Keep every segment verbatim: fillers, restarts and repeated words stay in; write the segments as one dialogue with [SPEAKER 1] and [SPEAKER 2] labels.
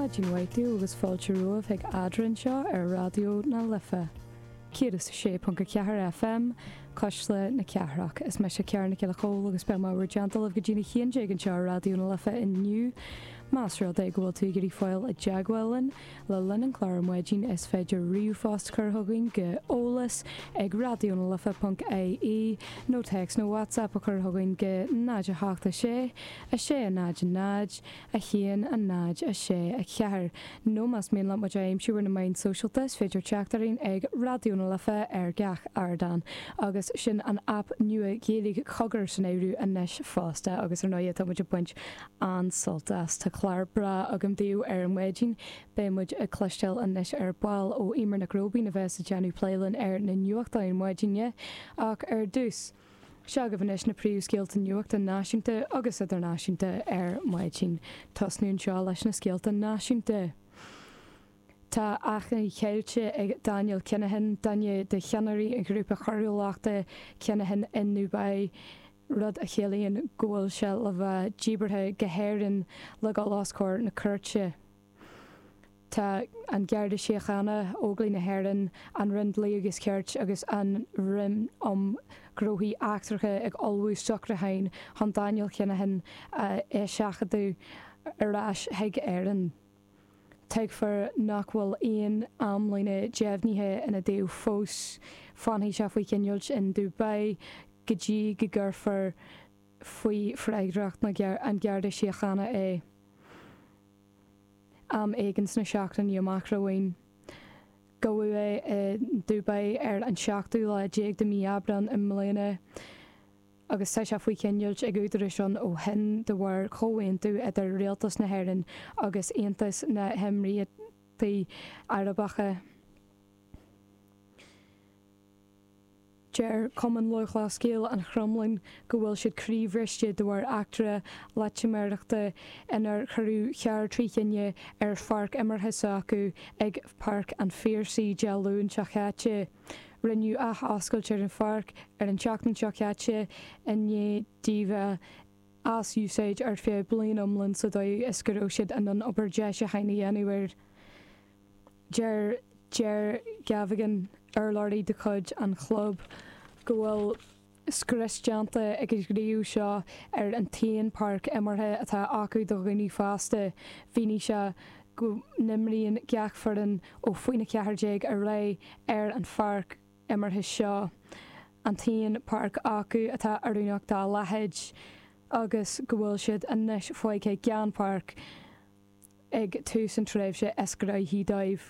[SPEAKER 1] Maidin mhaith daoibh agus fáilte romhaibh chuig Eadrainn anseo ar Raidió na Life. Céad is a sé ponc a ceathair FM, Cuisle na Cathrach. Is mise Ciara Nic Giolla Chóill agus beidh mé i bhur dteannta libh go dtí a haon déag anseo ar Raidió na Life inniu. Más rud é go bhfuil tú ag iarraidh fáil i dteagmháil linn le linn an chláir ar maidin is féidir ríomhphost a chur chugainn go eolas ag raidió na life ponc ie nó téacs nó WhatsApp a chur chugainn go náid a hocht a sé, a sé a náid a náid, a haon a náid a sé a ceathair. Nó más mian leat muid a aimsiú ar na meáin sóisialta is féidir teacht orainn ag Raidió na Life ar gach ardán. Agus sin an aip nua Ghaeilge Cogar san áireamh anois fosta agus ar ndóigh tá muid ag baint an-sult as. Tá clár breá agam daoibh ar maidin, beidh muid ag cloisteáil anois ar ball ó Eimear Nic Róibín a bheas ag déanamh plé linn ar na nuachtáin maidine ach ar dtús. Seo agaibh anois na príomhscéalta nuachta náisiúnta agus idirnáisiúnta ar maidin. Tosnú anseo leis na scéalta náisiúnta. Tá achainí ceilte ag Daniel Kinahan, duine de cheannairí an ghrúpa choiriúlachta Kinahan in Dubai, rud a chiallaíonn go bhfuil sé le bheith díbeartha go hÉirinn le dhul os comhair na cúirte. Tá an Garda Síochána, Óglaigh na hÉireann, an Roinn Dlí agus Cirt agus an Roinn um Ghnóthaí Eachtracha ag ullmhú socrúcháin chun Daniel Kinahan a eiseachadadh ar ais chuig Éirinn. Tuigtear nach bhfuil aon amlíne deimhnithe ina dtaobh fós, fanfaidh sé faoi choinneáil in Dubai go dtí go gcuirfear faoi fhreagracht an Gharda Síochána é. Am éigin sna seachtainí amach romhainn. Gabhadh é i Dubai ar an seachtú lá déag de mhí Aibreán i mbliana agus tá sé faoi choinneáil ag údaráis ann ó shin de bharr chomhaontú idir Rialtas na hÉireann agus Aontas na hÉimíríochtaí Arabacha. Deir Cumann Lúthchleas Gael an Chromghlinn go bhfuil siad croíbhriste de bharr eachtra loitiméireachta inar cuireadh charr trí thine ar pháirc imeartha s'acu ag Páirc an Phiarsaigh Dé Luain seo caite. Rinneadh ath-oscailt ar an pháirc ar an tseachtain seo caite i ndiaidh di bheith as úsáid ar feadh bliain iomlán sa dóigh is go raibh siad in ann obair deisiúcháin a dhéanamh air. Deir Ger Gavaghan, urlabhraí de chuid an chlub, go bhfuil scrios déanta ag an ghníomh seo ar an t-aon páirc imeartha atá acu do dhaoine fásta. Mhínigh sé go n-imríonn gach foireann ó faoin a ceathair déag ar aghaidh ar an pháirc imeartha seo, an t-aon páirc acu atá oiriúnach dá leithéid, agus go bhfuil siad anois fágtha gan páirc ag tús an tréimhse is gnóthaí dóibh.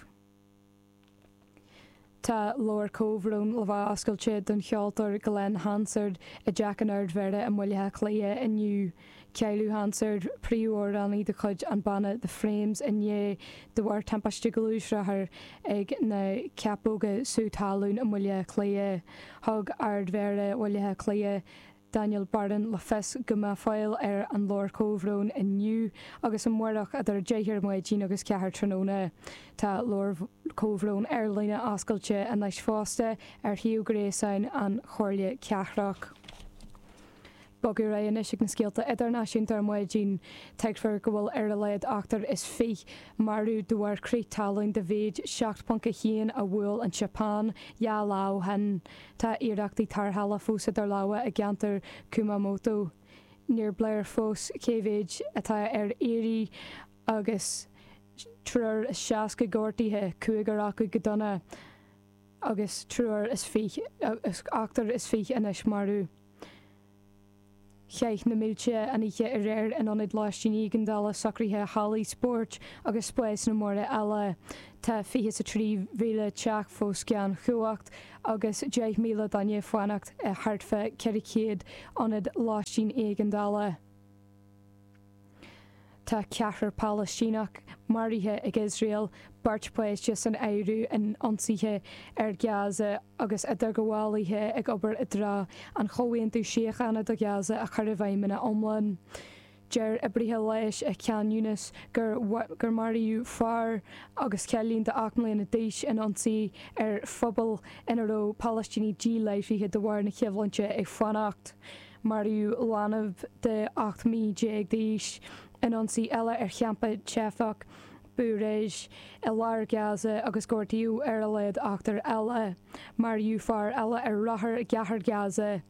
[SPEAKER 1] Tá leabhar comhbhróin le bheith oscailte don cheoltóir Glen Hansard i dTeach an Ardmhéara i mBaile Átha Cliath inniu. Cailleadh Hansard, príomhamhránaí de chuid an banna The Frames inné de bharr timpiste gluaisrothair ag na Ceapóga Sú Talún i mBaile Átha Cliath. Thug Ardmhéara Bhaile Átha Cliath, Daniel Barron le fios go mbeidh fáil ar an leabhar comhbhróin inniu agus amárach idir a deich ar maidin agus ceathair tráthnóna. Tá leabhar comhbhróin ar líne oscailte anois fosta ar shuíomh gréasáin an Chomhairle Cathrach. Bogadh ar aghaidh anois ag na scéalta idirnáisiúnta ar maidin. Tuigtear go bhfuil ar a laghad ochtar is fiche marbh de bharr crith talún de mhéid seacht ponc a haon a bhuail an tSeapáin dhá lá ó shin. Tá iarrachtaí tarrthála fós idir lámha i gceantar Kumamoto. Níor léir fós cé mhéid atá ar iarraidh agus triúr is seasca gortaithe, cúigear acu go dona, agus triúr is fiche, ochtar is fiche anois marbh. Chaith na mílte an oíche aréir in ionaid lóistín éigeandála, socruithe, hallaí spóirt agus spásanna móra eile. Tá fiche is a trí mhíle teach fós gan chumhacht agus deich míle duine ag fanacht i thart fá ceithre chéad ionad lóistín éigeandála. Tá ceathrar Palaistíneach maraithe ag Iosrael, beirt pháiste san áireamh, in ionsaithe ar Ghaza agus idirghabhálaithe ag obair i dtreo an chomhaontú síochána do Ghaza a chur i bhfeidhm ina iomlán. Deir oibrithe leighis i Khan Younis gur gur maraíodh fear agus cailín de ocht mbliana d'aois in ionsaí ar phuball ina raibh Palaistínigh díláithrithe de bharr na coimhlinte ag fanacht. Maraíodh leanbh de ocht mí déag d'aois in ionsaí eile ar champa teifeach Bureij i lár Gaza agus gortaíodh ar a laghad ochtar eile. Maraíodh fear eile ar rothar i gceathair Gaza.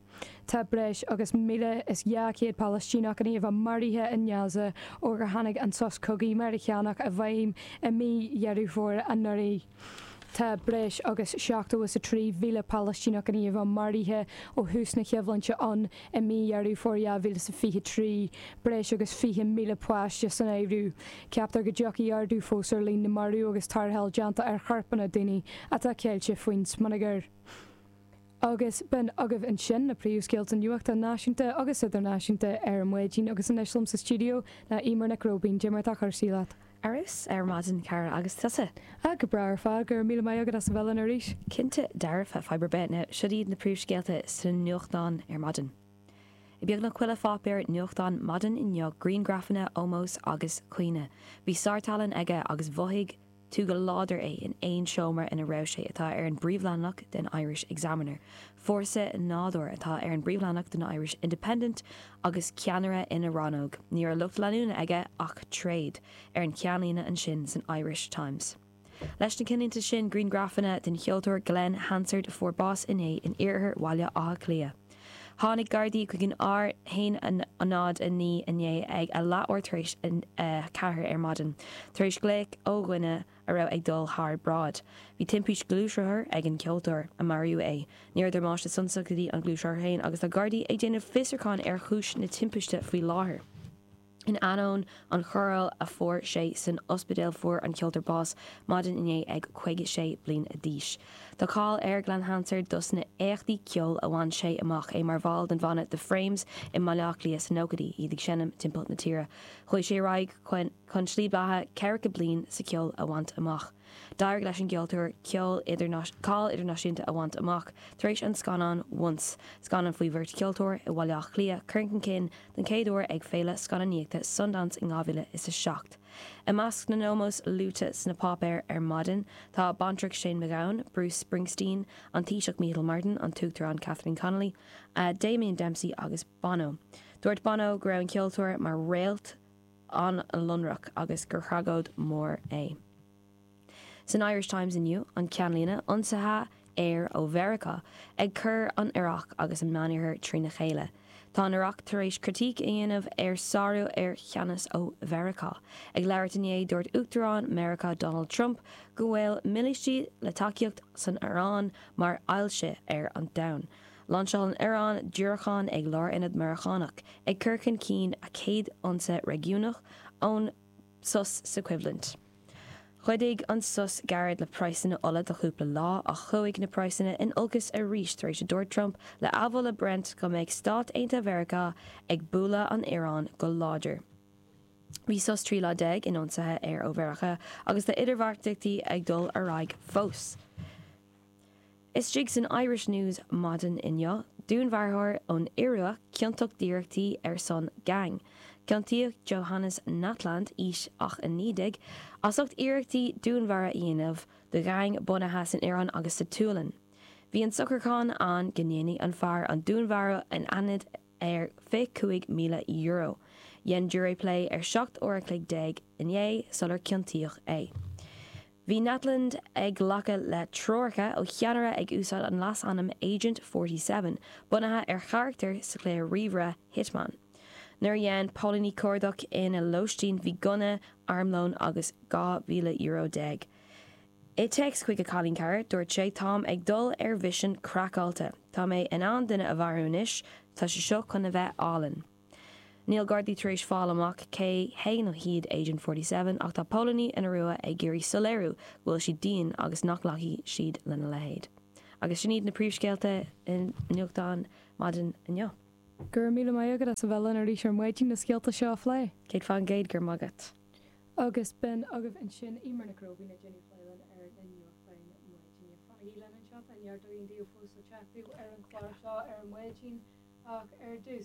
[SPEAKER 1] Tá breis agus míle is dhá chéad Palaistíneach i ndiaidh a bheith maraithe i nGaza ó gur tháinig an sos cogaidh Meiriceánach i bhfeidhm i mí Dheireadh Fómhair anuraidh. Tá breis agus seachtó is a trí mhíle Palaistíneach i ndiaidh a bheith maraithe ó thús na coimhlinte ann i mí Dheireadh Fómhair dhá mhíle is a fiche trí, breis agus fiche míle páiste san áireamh. Ceaptar go dtiocfaidh ardú fós ar líon na marbh agus tarrtháil déanta ar chorpanna daoine atá ceilte faoin smionagar. Agus b'in agaibh ansin na príomhscéalta nuachta náisiúnta agus idirnáisiúnta ar maidin agus anois liom sa stiúideo ná Eimear Nic Róibín. Cad é mar atá cúrsaí leat.
[SPEAKER 2] Arís ar maidin cara agus tusa.
[SPEAKER 1] Ah go breá ar fad go raibh míle maith agat as a bheith linn arís.
[SPEAKER 2] Cinnte dearfa fadhb ar bith now seo iad na príomhscéalta sa nuachtán ar maidin. I beagnach chuile pháipéar nuachtán maidin inniu grianghrafanna ómóis agus caoineadh. Bhí sártallann aige agus mhothaigh tú go láidir é in aon seomra ina raibh sé atá ar an bpríomhleathanach den Irish Examiner. Fórsa nádúir atá ar an bpríomhleathanach den Irish Independent agus ceannaire ina rannóg. Ní raibh lucht leanúna aige ach tréad ar an cheannlíne ansin san Irish Times. Leis na cinnlínte sin grianghrafanna den cheoltóir Glen Hansard a fuair bás inné in iarthar Bhaile Átha Cliath. Tháinig Gardaí chuig an R haon a náid a naoi inné ag a leathuair tar éis a ceathair ar maidin, tar éis glaoch ó dhuine a raibh ag dul thar bráid. Bhí timpiste gluaisrothair ag an gceoltóir a maraíodh é. Ní raibh damáiste suntasach go dtí an gluaisrothar féin agus tá Gardaí ag déanamh fiosrúchán ar chúis na timpiste faoi láthair. In ainneoin an chóireáil a fuair sé san ospidéal fuair an ceoltóir bás maidin inné ag caoga sé bliain d'aois. Tá cáil ar Glen Hansard dos na éachtaí ceoil a bhain sé amach é mar bhall den bhanna The Frames i mBaile Átha Cliath sna nóchaidí iad ag seinm timpeall na tíre. Chuaigh sé ar aghaidh chun slí beatha ceathracha bliain sa cheol a bhaint amach. D'éirigh leis an gceoltóir ceol cáil idirnáisiúnta a bhaint amach tar éis an scannán Once, scannán faoi bheirt cheoltóir i Bhaile Átha Cliath curtha chun cinn den chéad uair ag Féile Scannánaíochta Sundance in dhá mhíle is a seacht. I measc na n-ómós luaite sna páipéir ar maidin tá Baintreach Shane MacGowan, Bruce Springsteen, an Taoiseach Micheál Martin, an tUachtarán Catherine Connolly, uh, Damien Dempsey agus Bono. Dúirt Bono go raibh an ceoltóir mar réalt an-lonrach agus gur thragóid mór é. San Irish Times inniu an ceannlíne ionsaithe aeir ó Mheiriceá ag cur an Iaráic agus an Meánoirthear trína chéile. Tá an Iaráic tar éis critic a dhéanamh ar sárú ar cheannas ó Mheiriceá. Ag labhairt inné dúirt Uachtarán Meiriceá Donald Trump go bhfuil mílístí le tacaíocht san Iaráin mar ailse ar an domhan. Lainseáil an Iaráin diúracáin ag lárionad Meiriceánach ag cur chun cinn a céad ionsaí réigiúnach ón sos sa choimhlint. Chuidigh an sos gairid le praghsanna ola do chúpla lá ach chuaigh na praghsanna in olcas arís tar éis a dúirt Trump le amhola Brent go mbeidh Stáit Aontaithe Mheiriceá ag bualadh an Iaráin go láidir. Bhí sos trí lá déag in ionsaithe aeir ó Mheiriceá agus tá idirbheartaíochtaí ag dul ar aghaidh fós. Istigh san Irish News maidin inniu, dúnmharfóir ón Iorua ciontach d'iarrachtaí ar son gang. Ciontaíodh Johannes Natland aois ach a naoi déag, as ucht iarrachtaí dúnmharú a dhéanamh do gheaing bunaithe san Iaráin agus sa tSualainn. Bhí an socrúchán ann go ndéanfaidh an fear an dúnmharú in ionad ar fiche cúig míle euro. Dhein giúiré plé ar seacht uair a chloig déag inné sular ciontaíodh é. Bhí Natland ag glacadh le treoracha ó cheannaire ag úsáid an leasainm Agent forty seven, bunaithe ar charachtar sa chluiche ríomhaire Hitman. Nuair a dhein póilíní cuardach ina lóistín bhí gunna, armlón agus dhá mhíle euro déag. I dtéacs chuig a chailín cara, dúirt sé Táim ag dul ar mhisean craiceáilte. Tá mé in ann duine a mharú anois, tá sé seo chun a bheith álainn. Níl Gardaí tar éis fáil amach cé hé nó hiad Agent forty seven ach tá póilíní an Iorua ag iarraidh soiléiriú go bhfuil siad dian agus nach nglacfaidh siad lena leithéid. Agus sin iad na príomhscéalta i nuachtán maidin inniu.
[SPEAKER 1] Go raibh míle maith agat as a bheith linn arís ar maidin na scéalta seo a phlé.
[SPEAKER 2] Céad faoin gcéad go raibh maith agat.
[SPEAKER 1] Agus b'in agaibh ansin Eimear Nic Róibín ag déanamh plé linn ar na nuachtáin maidine. Fanaigí linn anseo, tá neart daoine fós le teacht ar an chlár seo ar maidin ach ar dtús.